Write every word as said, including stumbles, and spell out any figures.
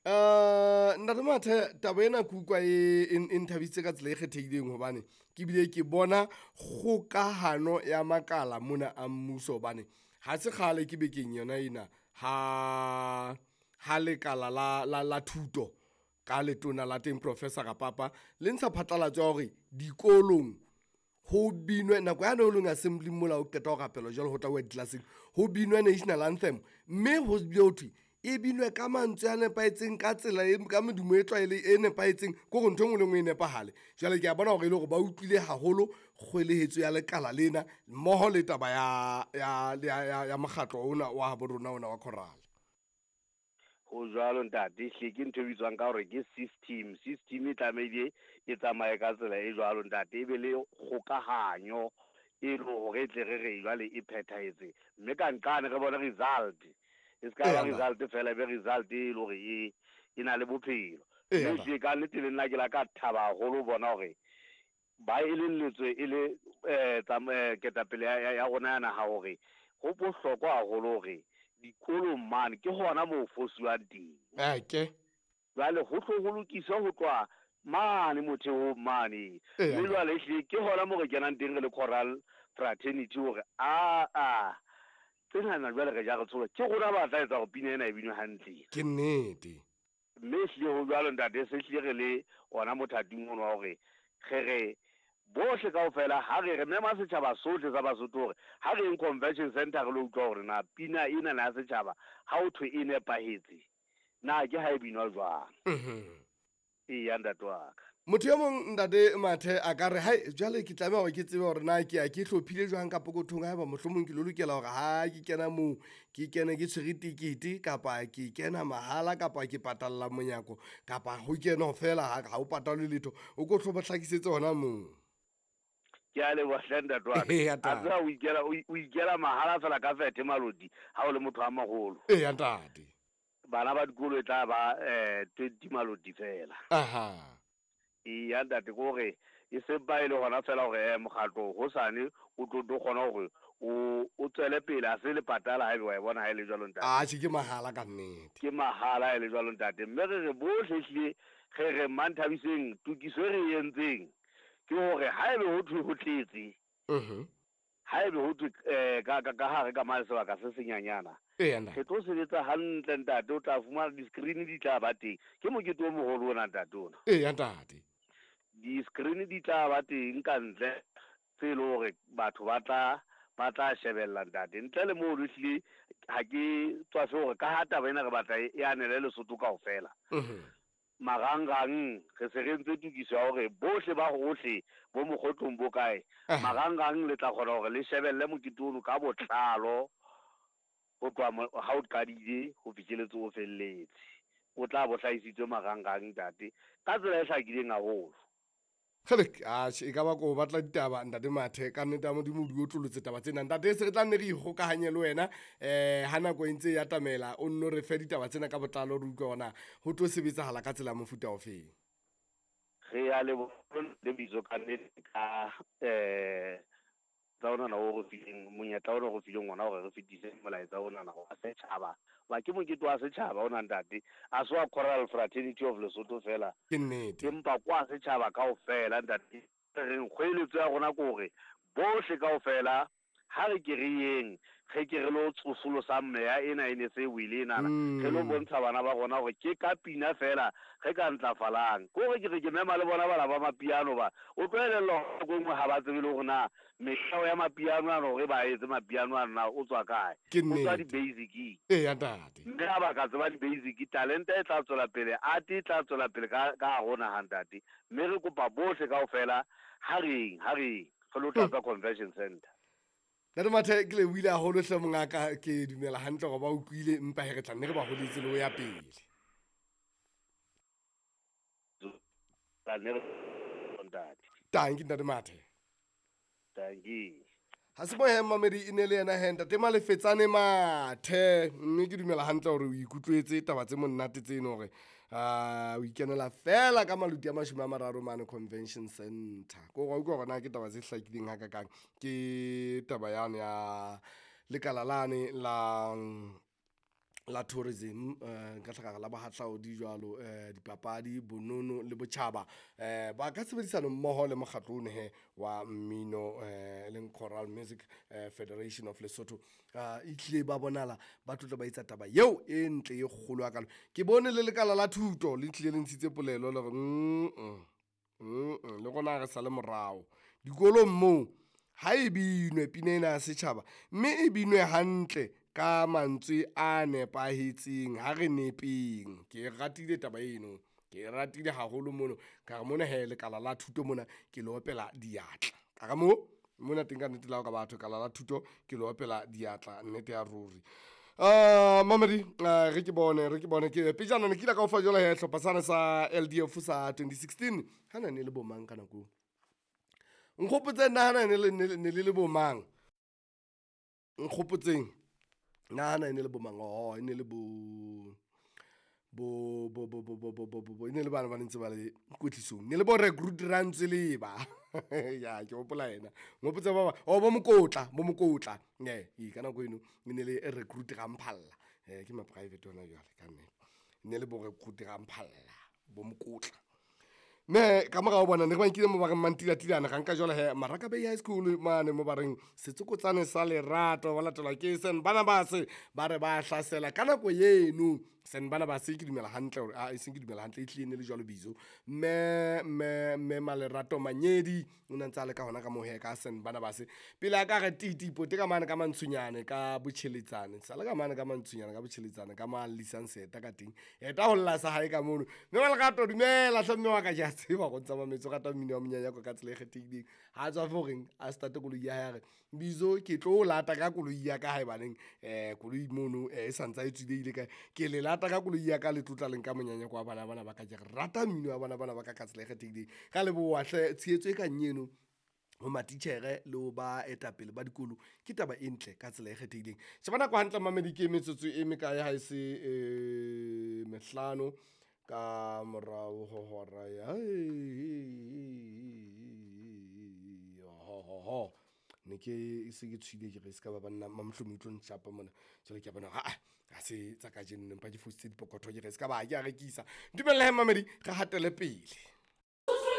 Uh, ntate Mathe, taba ena ke utlwa e, e, e nthabisitse ka tsela e kgethehileng hobane ke bile ke bona kgokahano ya makala mona a mmuso hobane ha se kgale ke bekeng yona ena ha ha lekala la, la, la thuto ka letona la teng Professor Rapapa le ntsha phatlalatso ya hore dikolong ho binwe nako yane o leng assembly mola o qeta ho rapela jwalo ho tla uwa di-class-eng ho binwe national anthem mme ho bile ho thwe e binwe ka mantswe a nepahetseng ka tsela e ka medumo e tlwaele e nepahetseng ke hore ntho e nngwe le e nngwe e nepahale. Jwale ke a bona hore e le hore ba utlwile haholo kgwelehetso ya lekala lena mmoho le taba ya ya ya ya, ya mokgatlo ona wa habo rona ona wa choral. Ho jwalo ntate, hle ke ntho e bitswang ka hore ke system. System e tlamehile e tsamaye ka tsela e jwalo ntate, e be le kgokahanyo e le hore e tle re re jwale e phethahetse. Mme ka nqane re bone result. E se ka ba result fela, e be result e le hore e e na le bophelo. Mme hlile ka nnete le nna ke la ka thaba haholo ho bona hore ba elelletswe e le eh ketapele ya ya rona ya naha hore ho bohlokwa haholo hore dikolong mane ke hona moo fosuwang teng. Ake. Jwale ho tlo ho lokiswa ho tloha mane motheong mane. Mme jwale ehlile ke hona moo re kenang teng re le choral fraternity hore a a tsenana jwale re ja re tshola ke rona ba tla etsa hore pina ena e binwe hantle. Ke nnete. Mme ehlile ho jwalo ntate, se hlile re le ona mothating ono wa hore re re bohle kaofela ha re re mema setjhaba sohle sa Basotho hore ha re eng convention center re lo utlwa hore na pina ena na ya setjhaba ha ho thwe e nepahetse na ke ha e binwa jwang. Mhm. Eya ntate wa ka. Motho e mong ntate Mathe a ka re hai jwale ke tlameha hore ke tsebe hore na ke ya ke hlophile jwang ka pokothong haeba mohlomong ke lo lokela hore ha ke kena moo ke kene ke tshwere tekete kapa ke kena mahala kapa ke patalla monyako kapa ho kena feela ha ha o patalwe letho, o ko hlo ba hlakisetse hona moo. Ke a leboha hle ntate wa ka. Eya, A tseba o ikela, o o ikela mahala fela ka fethe Maloti ha o le motho a moholo. Eya ntate. Bana ba dikolo e tla ba eh twenty Maloti fela. Aha. Eya ntate, ke hore e se ba e le hona fela hore eh mokgatlo hosane o tlo tlo kgona hore o o tswele pele a se le patala haebe wa e bona ha e le jwalo ntate. Atjhe ke mahala ka nnete. Ke mahala ha e le jwalo ntate. Mme re re bohle ehlile re re Manthabiseng tokiso e re e entseng ke hore haebe ho thwe ho tletse. Mhm. Haebe ho thwe eh ka ka ka hare ka mane sebaka se senyanyana. Eya ntate. Re tlo sebetsa hantle ntate, o tla fumana di-screen di tla ba teng. Ke mokete o moholo ona ntate ona. Eya ntate. Di-screen di tla ba teng ka ntle tse leng hore batho ba tla ba tla shebella ntate. Ntle le moo ehlile ha ke tswafe hore ka ha taba ena re batla e anele Lesotho kaofela. Mhm. Marangrang re se re entse tokiso ya hore bohle ba hohle bo mokgotlong bo kae, marangrang le tla kgona hore le shebelle mokete ono ka botlalo ho tloha ha o qadile ho fihlelletse o felletse. O tla bo hlahisitswe marangrang ntate ka tsela e hlakileng haholo. Kgele, atjhe e ka ba ko batla ditaba ntate Mathe ka nnete ya Modimo o di otlolotse taba tsena. Ntate se re tla nne re ikgokahanye le wena eh ha nako e ntse e atamela o nno re fe ditaba tsena ka botlalo re utlwe hore na ho tlo sebetsahala ka tsela ya mofuta ofeng. Re a leboha le bitso ka nnete ka eh tsa ona o re fileng monyetla ona o re fileng ona hore re fetise molaetsa ona wa setjhaba. Ba ke mokete wa setjhaba ona ntate, a se wa Choral Fraternity of Lesotho fela. Ke nnete. Empa kwa setjhaba kaofela ntate. Re reng kgoeletso ya rona ke hore bohle kaofela ha re ke re yeng, re ke re lo tsosolosa meya ena e ne se wile enana. Re lo bontsha bana ba rona hore ke ka pina fela re ka ntlafalang. Ke hore ke re ke mema le bona bana ba mapiano ba. O tlo elellwa nako e nngwe ha ba tsebe le hore na mehla ya mapiano ano hore ba etse mapiano ano na o tswa kae. Ke O tswa nnete. di-basic-ing. Eya ntate. Mme ha ba ka tseba di-basic, talente e tla tswela pele, art e tla tswela pele ka ka hare ho naha ntate. Mme re kopa bohle kaofela ha reng, ha reng re lo tlatsa convention center. Ntate Mathe ke lebohile haholo hle mongaka, ke dumela hantle hore ba utlwile empa he re tla nne re ba holetse le ho ya pele. Tla nne re ntate. Tanki ntate Mathe. Tanki. Ha se mohe mamedi e ne le yena he ntate Malefetsane Mathe, mme ke dumela hantle hore o ikutlwetse taba tse monate tseno hore ah o ikenela fela ka maluti a mashome a mararo mane convention center. Ko wa utlwa hore na ke taba tse hlakileng hakakang, ke taba yane ya lekala lane la La tourism, eh, nka hlaka la bohahlaodi jwalo, eh, dipapadi, bonono le botjhaba, eh, ba ka tshebedisano mmoho le mokgatlo ono he wa mmino, eh, e leng Choral Music eh, Federation of Lesotho. Uh, e tlile ba bonahala ba tlotla ba etsa taba eo e ntle e kgolo hakalo. Ke bone le lekala la thuto le tlile le ntshitse polelo le hore mm mm, le rona ha re sale morao dikolong moo ha e binwe pina ena ya setjhaba, mme e binwe hantle ka mantswe a nepahetseng, ha re nepeng. Ke e ratile taba eno, ke e ratile haholo mono. Ka re mona he lekala la thuto mona ke le opela diatla. Ka re mo mona teng ka nnete le ha o ka batho lekala la thuto ke le opela diatla nnete ya ruri. Uh, mamedi, uh, re ke bone re ke bone ke pejana ne ke ile ka o fa jwale he hlopha sane sa L D F sa twenty sixteen. Hana ne le bo mang ka nako eo? Nkgopotseng na hana ne le, ne le, ne le le bo mang? Nkgopotseng na hana ne le bo mang? Oh, e ne le bo, bo, bo, bo, bo, bo, bo, bo, bo, bo, e ne le bana ba ntse ba le kwetlisong. Ne le bo recruit Rantsweleba. Ya, ke hopola yena. Nghopotse ba ba, oh, bo Mokotla, bo Mokotla. Ne, e ka nako eno e ne le recruit Ramphalla. Eh, ke ma private hona jwale ka nnete. Ne le bo recruit Ramphalla, bo Mokotla. Me ka morao bona ne re ba nkile mo ba reng Mantilatilane, ga nka jwale he Maraka Bay High School mane mo ba reng Setsokotsane sa Lerato, ba latelwa ke Saint Barnabas, ba re ba hlasela ka nako eno. Saint Barnabas ke dumela hantle hore, ah, e seng ke dumela hantle, e tlile ne le jwalo bizo. Mme, mme, mme Malerato Manyedi o ne a ntse a le ka hona ka moo he ka Saint Barnabas. Pele a ka re titi pote ka mane ka Mantshunyane ka Botjheletsane, sa le ka mane ka Mantshunyane ka Botjheletsane ka ma Lisang Seta ka teng. Eta ho lla sa hae ka mono. Mme Malerato dumela hle mme wa ka, ke a tseba go ntsa mametso rata mmino wa monyanyako ka tsela e kgethehileng. Ha tswa fo reng a starte koloi ya hae a re Bizo ke tlo o lata ka koloi ya ka haebaneng, eh, koloi mono, eh, e santsa e tswile ile kae. Ke le lata ka koloi ya ka le tlotla leng ka monyanyako wa bana bana ba ka. Ke rata mmino wa bana bana ba ka ka tsela e kgethehileng. Ka leboha hle tshehetso e kang eno ho matitjhere le ho ba etapele ba dikolo ke taba e ntle ka tsela e kgethehileng. Sheba nako hantle mamedi, ke metsotso e mekae ha e se, eh, mehlano ka morao ho hora ya, ho, ho, ho. Ne ke se ke tshwile ke re se ka ba banna mamohlomong e tlo ntjapa mona. Jwale ke a bona hore, ah, ha se tsa kajeno, empa ke fositse dipokotho ke re se ka ba ke a rekisa. Dumella he mamedi, re hatele pele.